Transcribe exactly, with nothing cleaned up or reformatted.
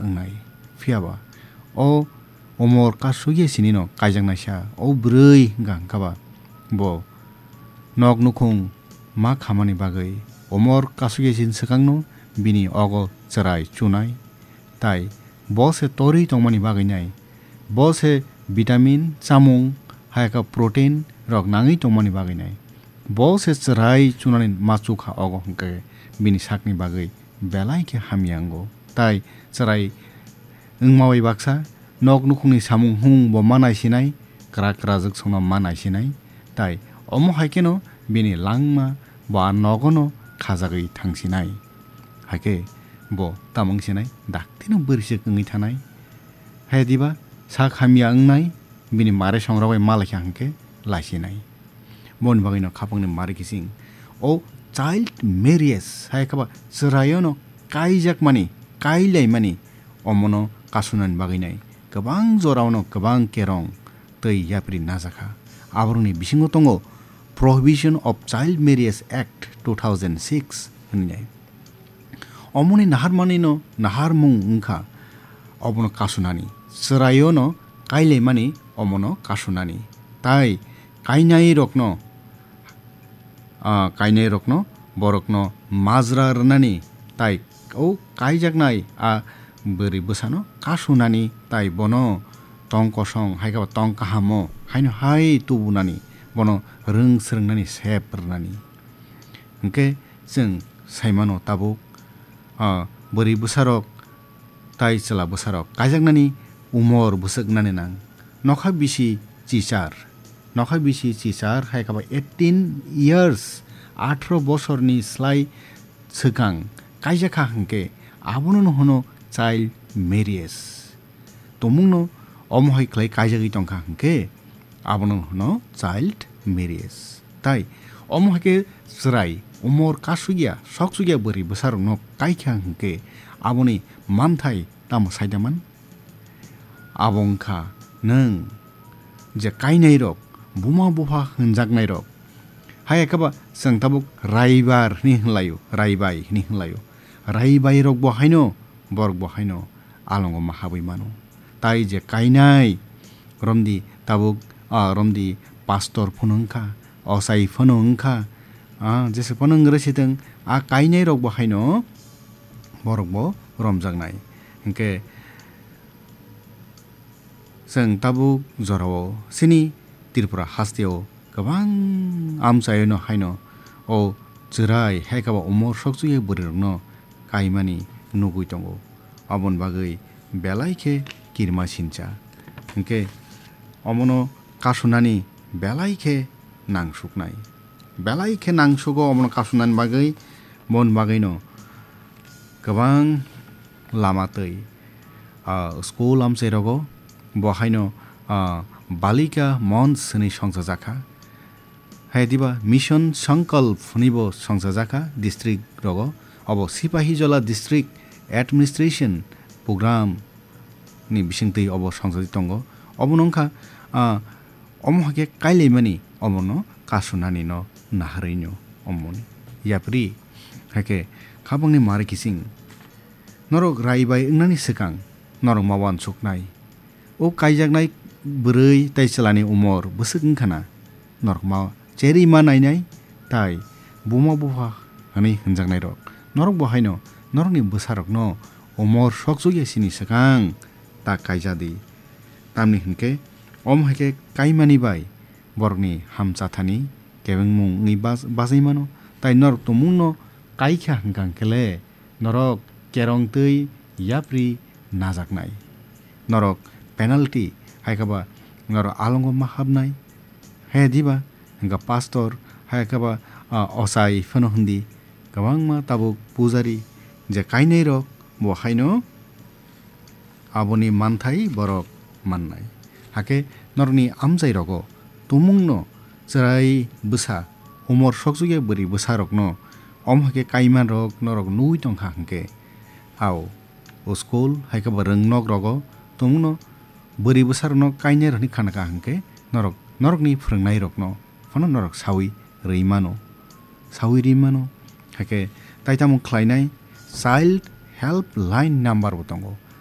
wngnai. Phiyaba o umor kasugya sinino kaijaknaisa o bwrwi hwnkha hwnkha ba bo nok nukhung ma khamani bagwi umor kasugya sin swkangno bini ogo chwrai chunai. Tai bo se torwi tongmani bagwi nai, bo se vitamin chamung, hai khe protein rok nangwi tongmani bagwi nai, bo se chwrai chunani ma chukha ogo hwnkhe bini sakni bagwi belai khe hamya wngo. Tai chwrai wngma bai baksa nok nukhungni samung humung bo ma naisinai, kwrak kwrajwk songno ma naisinai. Tai omo hai kheno bini langma bo a nogono khajagwi thangsinai. Hai khe bo tamo wngsinai, daktino bwrwisuk wngwi thanai. Hai diba sak hamya wngnai, bini mare songrok bai ma laikha hwnkhe laisinai. Boni bagwino khapangni mari kising o child marriage hai khe ba chwraiono kaijakmani, kailaimani omono kasunani bagwi nai kwbang joraono kwbang kerong tei yapri najakha. Aborokni bisingo tongo Prohibition of Child Marriage Act two thousand six hwnwi nai. Omoni naharmanino naharmung wngkha obono kasunani, chwraiono kailaimani omono kasunani, tai kainairokno, ah, kainairokno borokno majra rwnani, tai o kaijaknai a bwrwi bwsano kasunani, tai bono tong kosong hai khe ba tong kahamo haino hai tubunani, bono rwng swrwngnani sep rwnani. Hwnkhe chwng saimano tabuk, ah, bwrwi bwsarok tai chwla bwsarok kaijaknani umor bwswk wngnani nang. Nokha bisi chichar, nokha bisi chichar hai khe ba eighteen years, atharo bosorni slai swkang kaijakha hwnkhe abono hwno child marriage. Tumungno omo hai khlai kaijagwi tongkha hwnkhe abono hwno child marriage. Tai omo hai khe chwrai umor kasugya, soksugya bwrwi bwsarokno kaikha hwnkhe aboni manthai tamo saidaman? Abo wngkha nwng je kainairok, buma bupha hwnjaknairok, hai khe ba chwng tabuk raibar hwnwi hwnlaio, raibai hwnwi hwnlaio. Raibairokbo haino, borokbo haino alongo ma habwi mano. Tai je kainai, romdi tabuk, ah, romdi pastor phano wngkha, ochai phano wngkha, ah, jesa phano wng rwsitwng, a kainairokbo haino borokbo romjaknai. Hwnkhe chwng tabuk jorao chini Tripura hasteo kwbang amchaino haino o chwrai hai khe ba umor sokchukya bwrwirokno kaimani nugwi tongo. Aboni bagwi belai khe kirima sincha. Hwnkhe omono kasunani belai khe nangsuknai. Belai khe nangsugo omono kasunani bagwi, boni bagwino kwbang lama twi, ah, school amchairogo bo haino, ah, Balika Mons hwnwi songchajakha. Hai diba Mission Sankalp hwnwibo songchajakha district rogo. Obo Sipahijola District Administration Program ni bisingtwi obo songchajak tongo. Obono wngkha, ah, omo hai khe kailaimani omono kasunani no naharwi no omoni yapri. Hai khe khabangni mari kising norok rai bai wngnani swkang norok ma uansuknai. O kaijaknai bwrwi tai chwlani umor bwswk wngkha na? Norok ma cherwi ma nainai, tai buma bupha hwnwi hwnjaknairok. Norok bo haino norokni bwsarokno umor sokchukya sini swkang ta kaija di. Tamni hwnkhe, omo hai khe kaimani bai borokni hamchathani kebengmung wngwi bas-, bachai mano, tai norok tumungno kaikha hwnkha hwnkhe le, norok kerong twi yapri najaknai. Norok penalty hai khe ba norok alongo ma habnai. He diba hwnkha pastor hai khe ba, ah, ochai phano hwndi kwbangma tabuk pujari je kainai rok bo haino aboni manthai borok mannai. Hakhe norokni amchai rogo tumungno chwrai bwsa, umor sokchukya bwrwi bwsarokno omo hai khe kaiman rok norok nugwi tongkha hwnkhe, ao o school hai khe bo rwngnok rogo tumungno bwrwi bwsarokno kainai rok hwnwi khanakha hwnkhe norok norokni phwrwngnairokno phano norok sawi rwi mano, sawi rwi mano. Hakhe tai tamo khlainai child help line number bo tongo.